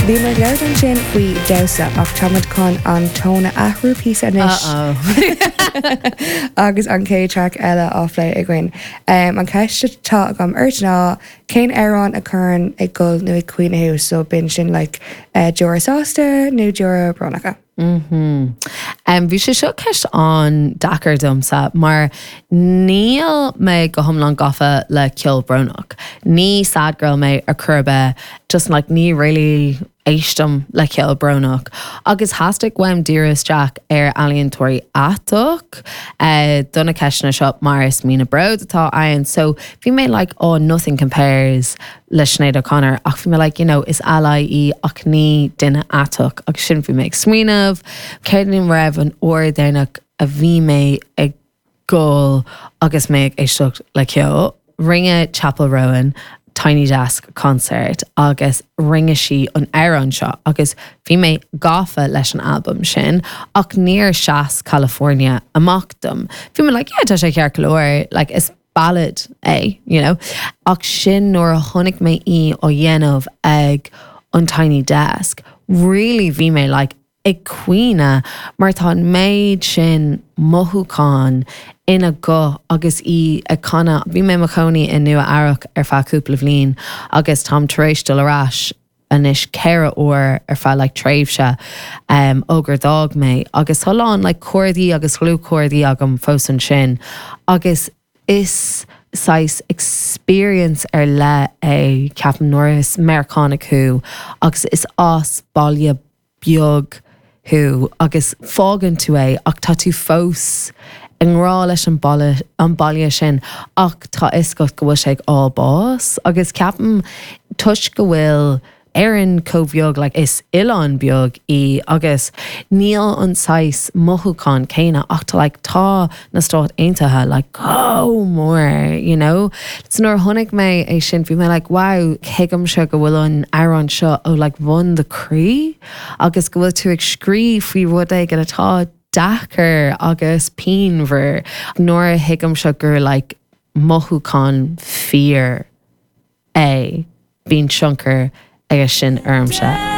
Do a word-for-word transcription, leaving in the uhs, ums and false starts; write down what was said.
Bhí mé ag labhairt ansin faoi damhsa ach táimid chun an tón a athrú píosa anois agus an chéad track eile á phlé againn. Um, an cheist atá agam ort ná cén amhrán a chuireann ag gol nó ag caoineadh thú so bíonn sin like, uh, deora sásta nó deora brónacha. Mm Um, bhí sé seo ceist an-deacair domsa mar níl mé go hiomlán gafa le ceol brónach. Ní sad girl mé ar chor ar bith just like ní really éistim le ceol brónach. Agus theastaigh uaim díriú isteach ar ealaíontóirí aiteach uh, do na ceisteanna seo mar is mí na bród atá ann, so bhí mé like oh nothing compares le Sinéad O'Connor ach bhí mé like you know is ally í ach ní duine aiteach agus sin bhí mé ag smaoineamh, céard raibh an uair dheireanach a bhí mé ag gol agus mé ag éisteacht le ceol. Rinne Chappell Roan Tiny Desk concert agus rinne sí an amhrán seo agus bhí mé gafa leis an album sin ach níor sheas California amach dom. Bhí mé like, yeah, tá sé ceart go leor, like, is ballad é, you know? Ach sin nuair a chonaic mé í á dhéanamh ag an Tiny Desk, really bhí mé like, ag caoineadh mar tá an méid sin mothúchán ina guth agus í ag canadh. Bhí mé i mo chónaí i Nua Eabhrac ar feadh cúpla bliain agus táim tar éis dul ar ais anois ceithre huaire ar feadh like, tréimhse um, ó gur d'fhág mé agus tá lán like, cairde agus dlúthchairde agam fós ansin agus is saghas experience ar leith é ceapaim nuair is Meiriceánach thú agus is as baile beag thú agus fágann tú é ach tá tú fós i ngrá leis an baile an baile sin ach tá a fhios agat go bhfuil sé ag fháil bás agus ceapaim toisc go bhfuil Éirinn chomh beag like, is oileán beag í agus níl an saghas mothúchán céanna ach tá like, tá na Stáit Aontaithe like, chomh mór, you know? So nuair a chonaic mé é sin bhí mé like, wow, tuigimse go bhfuil an amhrán seo ó like, bhun do chroí agus go bhfuil tú ag scríobh faoi rud éigin atá deacair agus pianmhar nuair a thuigimse gur like, mothúchán fíor é bíonn tionchar aige sin ormsa.